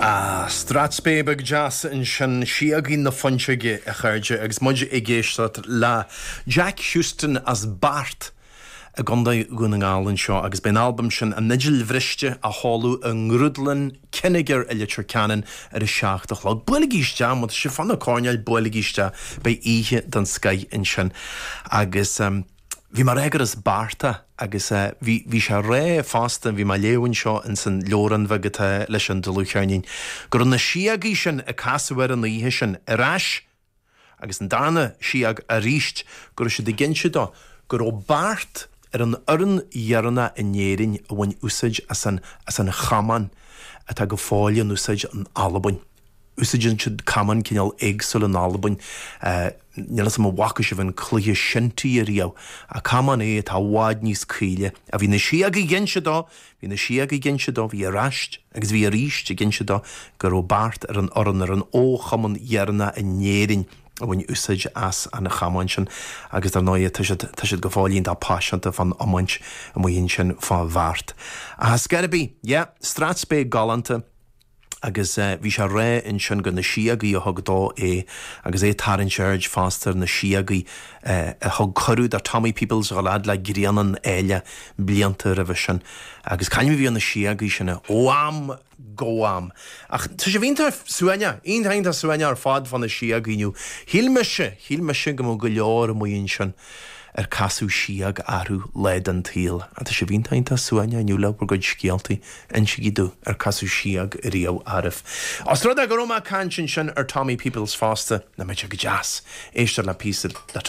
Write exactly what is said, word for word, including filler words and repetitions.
Ah, Strathspey beag deas ansin Síogaí na Fuinseoige a chairde agus muid ag éisteacht le Jack Houston as Beart i gContae Dhún na nGall anseo agus beidh an albam sin an Fhidil Bhriste á sheoladh i nGrúdlann Kinnegar i Leitir Ceanainn ar a seacht a chlog. Buailigí isteach má tá sibh fá na coirnéil buailigí isteach beidh oíche den scoth ansin agus um, Bhí mar éagar is Bearta agus uh, bhí bhí sé ré fosta bhí mé ag léamh anseo in san leabhrán bheag atá leis an dlúthcheirnín. Go raibh na síogaí sin a casadh air an oíche sin ar ais agus an darna síog arís go raibh siad ag inse dó go raibh Beart ar an fhoireann dheireanach in Éirinn a bhain úsáid as an as an chamán atá go fóill in úsáid in Albain. Úsáideann siad camán cineál éagsúil in Albain. Uh, Níl a fhios agam an bhfaca sibh an cluiche shinty riamh a camán é atá i bhfad níos caoile a bhí na síogaí ag inse dó, bhí na síogaí ag inse dó bhí ar ais agus bhí arís ag inse dó go raibh Beart ar an fhoireann ar an óchumann dheireanach in Éirinn a bhain úsáid as an chamán sin agus dar ndóigh tá siad tá siad go fóill iontach paiseanta fán iomáint amuigh ansin fá Bheart. A Scarby, yeah, Strathspey galánta agus uh, bhí sé ré ansin go na síogaí a thug dó é agus é tarraingt aird fosta na síogaí uh, a thug cuireadh do Tommy Peoples a lead le Grianán Ailigh blianta roimhe sin agus cainim bhí na síogaí sin ó am go am. Ach tá sé iontach suaimhneach, iontach suaimhneach ar fad fá na síogaí inniu. Shíl mise, shíl mise go mbeadh go leor amuigh ansin ar casadh síog orthu lá den tsaol. A tá sé iontach suaimhneach inniu le bhur gcuid scéaltaí insígí domh ar casadh síog riamh oraibh. Os rud é go raibh mé ag caint ansin ar Tommy Peoples fosta na mé go deas. Éistear le píosa le